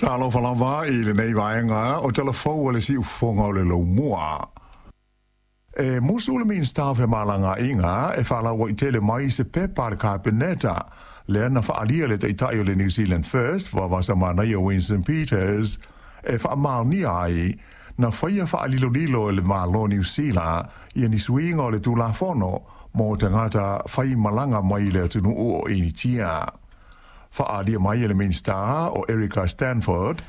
Talofa lava i lenei vaega o Tala Fou a le Siufofoga o le Laumua. E musu le Minisita o Femalagaaiga e faalauaitele mai se pepa a le Kapeneta lea na faaalia le Taitai o le New Zealand First, Vaavasamanaia Winston Peters, e faamaonia ai na faia faalilolilo e le Malo Niu Sila ia ni suiga o le Tulafono mo tagata faimalaga mai le atunuu o Initia. Faaalia mai e le Minisita o Erica Stanford,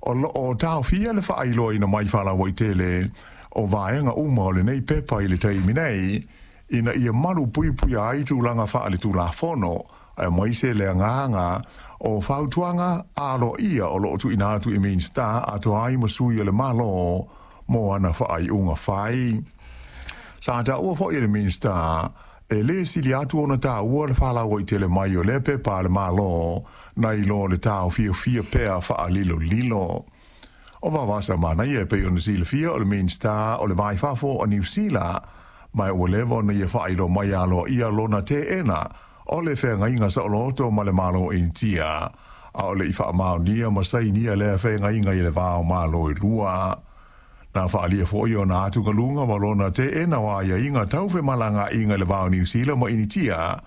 o loo taofia le faailoaina mai faalauaitele o vaega uma o lenei pepa i le taimi nei, ina ia malu puipuia ai tulaga faaletulafono, aemaise le agaga o fautuaga aloaia o loo tuuina atu i Minisita atoa ai ma sui o le Malo mo ana faaiuga fai. Sa taua foi e le Minisita e lē sili atu ona taua le faalauaitele mai o lea pepa a le Malo nai lo le taofiofia pea faalilolilo. O Vaavasamanaia e pei ona silafia o le Minisita o le Va i Fafo o Niu Sila, ma ua leva ona ia faailoa mai aloaia lona teena o le feagaiga saoloto ma le Malo Initia, a o le i faamaonia ma sainia lea feagaiga i le va o Malo e lua. Na faaalia foi ona atugaluga ma lona teena o aiaiga tau femalagaaiga i le va o Niu Sila ma Initia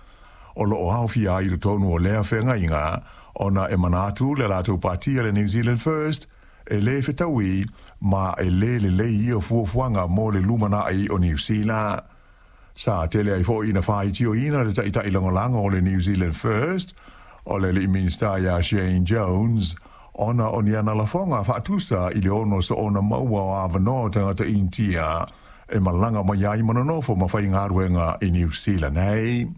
o loo aofia ai i totonu o lea feagaiga, ona e manatu le latou patia le New Zealand First e lē fetaui ma e lē lelei ia fuafuaga mo le lumanai o Niu Sila. Sa tele ai foi ina faitioina le taitai lagolago o le New Zealand First, o le alii Minisita ia Shane Jones, ona o ni ana lafoga faatusa i le ono soona maua o avanoa o tagata Initia e malaga mai ai ma nonofo ma faigaluega i Niu Sila nei.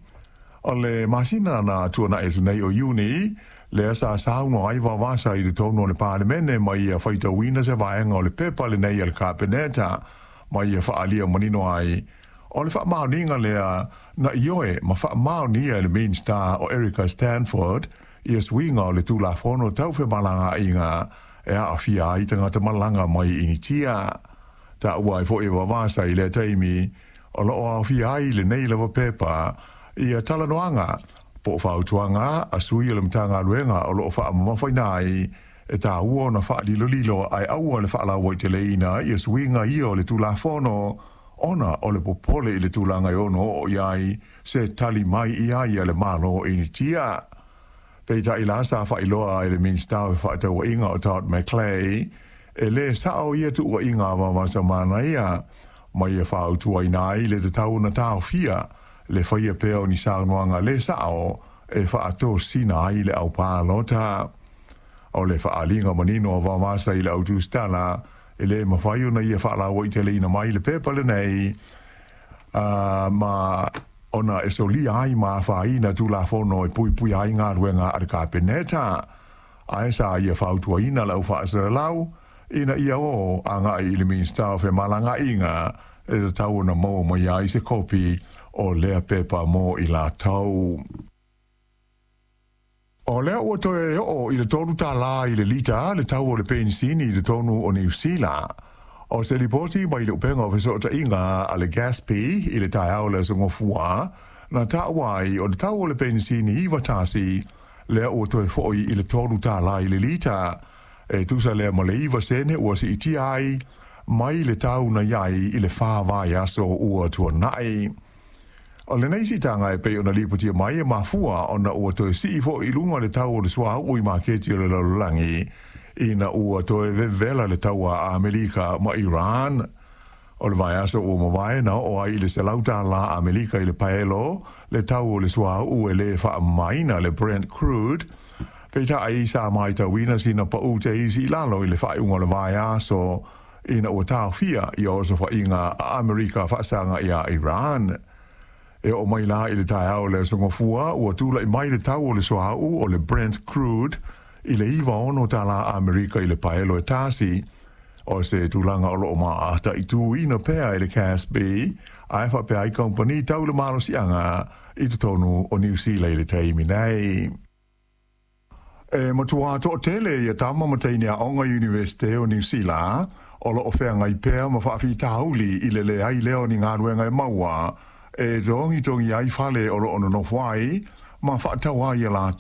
O le masina na tuanai atu nei o Iuni, lea sa saunoa ai Vaovasa i totonu o le Palemene ma ia faitauina se vaega o le pepa lenei a le Kapeneta ma ia faaalia manino ai o le faamaoniga lea na ioe ma faamaonia e le Minisita o Erica Stanford ia suiga o le Tulafono Tau Femalagaaiga e aafia ai tagata malaga mai Initia. Taua ai foi e Vaovasa i lea taimi o loo aofia ai lenei lava pepa ia talanoaga po o fautuaga a sui o le Matagaluega o loo faamamafaina ai e taua ona faalilolilo ae aua le faalauaiteleina ia suiga ia o le Tulafono, ona o le popole i le tulaga e ono oo i ai se tali mai i ai a le Malo Initia. Peitai la sa faailoa e le Minisita o Fefaatauaiga o Todd McClay e lē sao ia tuuaiga a Vaavasamanaia, ma ia fautuaina ai le tatau ona taofia le faia pea o ni saunoaga lē sao e faatosina ai le aupalota. O le faaaliga manino a Vaovasa i le au tusitala e lē mafai ona ia faalauaiteleina mai le pepa lenei, ma ona e solia ai ma afaina Tulafono e puipuia ai galuega a le Kapeneta. Ae sa ia fautuaina le au faasalalau ina ia o agai i le Minisita o Femalagaaiga e tatau ona maua mai ai se kopi o lea pepa mo i latou. O lea ua toe oo i le $3 i le lita le tau o le penisini i totonu o Niu Sila. O se lipoti mai le upega o fesootaiga a le Gasp i le taeao o le aso Gafua, na taua ai o le tau o le penisini 91 lea ua toe foi i le $3 i le lita. E tusa lea ma le 9 sene ua siitia ai mai le tau na i ai i le 4 vaiaso ua tuanai. O lenei siitaga e pei ona lipotia mai e mafua ona ua toe sii foi i luga le tau o le suauu i maketi o le lalolagi ina ua toe vevela le taua a Amerika ma Iran. O le vaiaso ua mavae na oo ai i le $100 Amerika i le paelo le tau o le suauu e lē faamamaina, le Brent crude. Peitai sa matauina sina pau te isi i lalo i le faaiuga o le vaiaso ina ua taofia ia osofaiga a Amerika faasaga iā Iran. E oo mai la i le taeao o le aso Gafua ua tula'i mai le tau o le suauu o le Brent crude i le $96 Amerika i le paelo e tasi, o se tulaga o loo mataituina pea e le CASB ae faapea ai kamupani tau le malosiaga i totonu o Niu Sila i le taimi nei. E matuā toatele ia tama ma teine aoga Iunivesite o Niu Sila o loo feagai pea ma faafitauli i le leai lea o ni galuega e maua e togitogi ai fale o loo nonofo ai ma faatau ai ia latou.